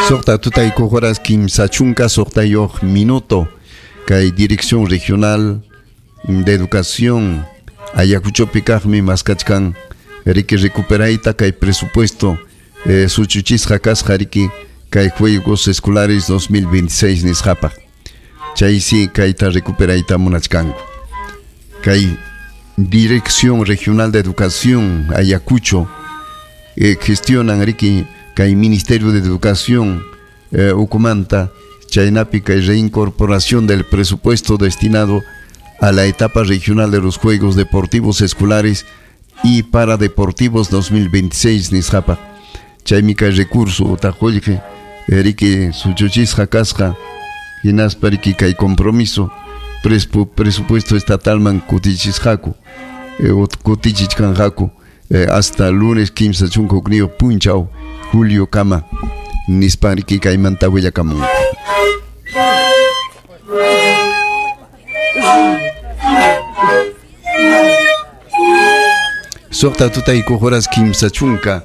Suqta tutaykuq horas 30 suqtayuq minuto kay Dirección Regional de Educación Ayacuchopi kaqmi maskachkan riki recuperayta kay presupuesto suchuchisqa kasqa riki kay Juegos Escolares 2026 nisqapaq chaysi kayta recuperayta munachkanku kay Dirección Regional de Educación Ayacucho gestionan riki kay Ministerio de Educación ukumanta chaynapi kay reincorporación del presupuesto destinado a la etapa regional de los Juegos Deportivos Escolares y Paradeportivos 2026 nisqapaq chaymi kay recurso utaq qullqi riki suchuchisqa kasqa hinaspa riki kay compromiso presupuesto estatalman kutichisqaku kutichichkanqaku hasta lunes 31 punchaw julio kama nispa riki kaymanta willakamunku. Suqta tutaykuq horas 30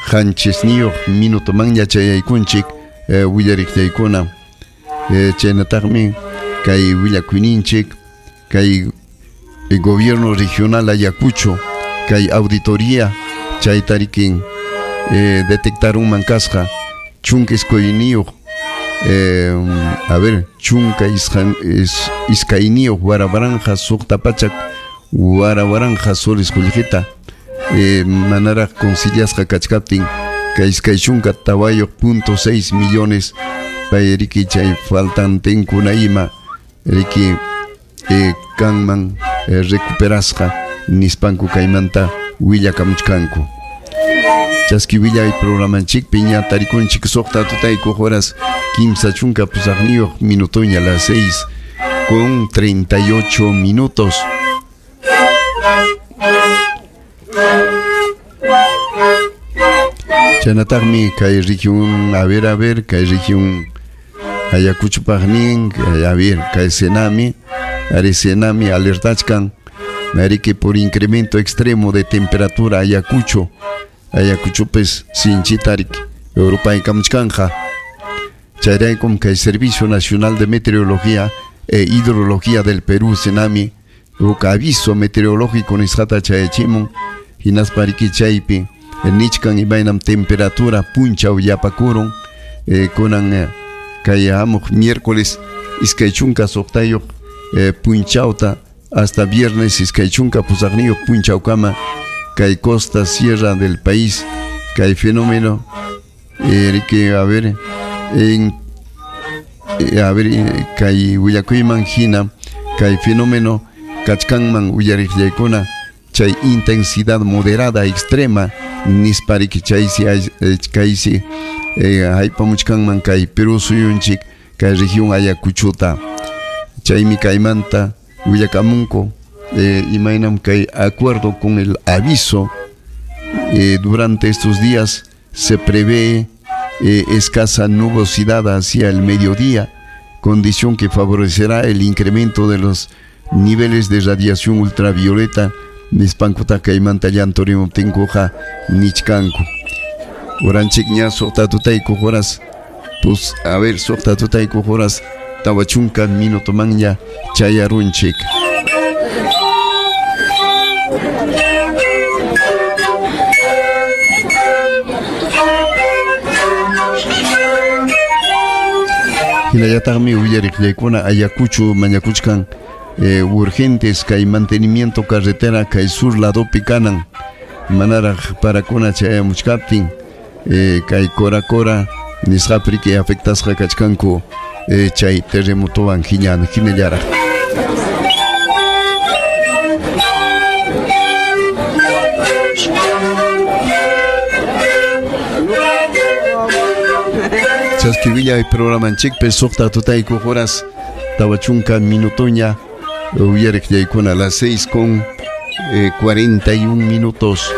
qanchisniyuq minutomanña chayaykunchik willariqllaykuna chaynataqmi kay willakuyninchik kay gobierno regional Ayacucho kay auditoría chayta rikin detectarunman kasqa chunka iskayniyuq a ver chunka iskayniyuq warawaranqa suqta pachak warawaranqa soles qullqita manaraq conciliasqa kachkaptin kay iskay chunka 4.6 millones pay riki chay faltantinkuna ima riki kanman recuperasqa nispanku kaymanta willakamuchkanku. Chaski willay programanchikpi ña tarikunchik suqta tutaykuq horas 38 minutoña las 6:38 minutos. Chaynataqmi kay región a ver kay región Ayacuchopaqnin a ver kay Senami ari Senami alertachkan nariki por incremento extremo de temperatura Ayacucho Ayacuchopes sinchitarik Europaykamuchkanja chayraykum kay Servicio Nacional de Meteorología e Hidrología del Perú Senami huk aviso meteorológico nisqata chayachimun hinaspa riki chaypi nichkan imaynam temperatura punchaw yapakurun kunan kay hamuq miércoles 26 punchawta hasta viernes 28 punchawkama kay costa sierra del país kay fenómeno riki a ver en a ver kay willakuyman hina kay fenómeno kachkanman uyariqllaykuna chay intensidad moderada extrema nispa riki chaysi kaysi haypamuchkanman kay Perú suyunchik kay región Ayacuchota chaymi kaymanta willakamunku imaynam kay acuerdo con el aviso durante estos días se prevé escasa nubosidad hacia el mediodía, condición que favorecerá el incremento de los niveles de radiación ultravioleta nispankuta kaymanta llantorimuptinkuqa nichkanku. Uranchik ña suqta tutaykuq horas pues a ver suqta tutaykuq horas 40 minutomanña chayarunchik. Hinallataqmi uyariqllaykuna Ayacucho mañakuchkan urgentes kay mantenimiento carretera kay sur ladopi kanan manaraq parakuna chayamuchkaptin kay Cora Cora nisqapi riki afectasqa kachkanku chay terremotowan hinallaraq. Chaski willay programanchikpi suqta tutaykuq horas 40 minutoña uyariqllaykuna las 6:41 minutos.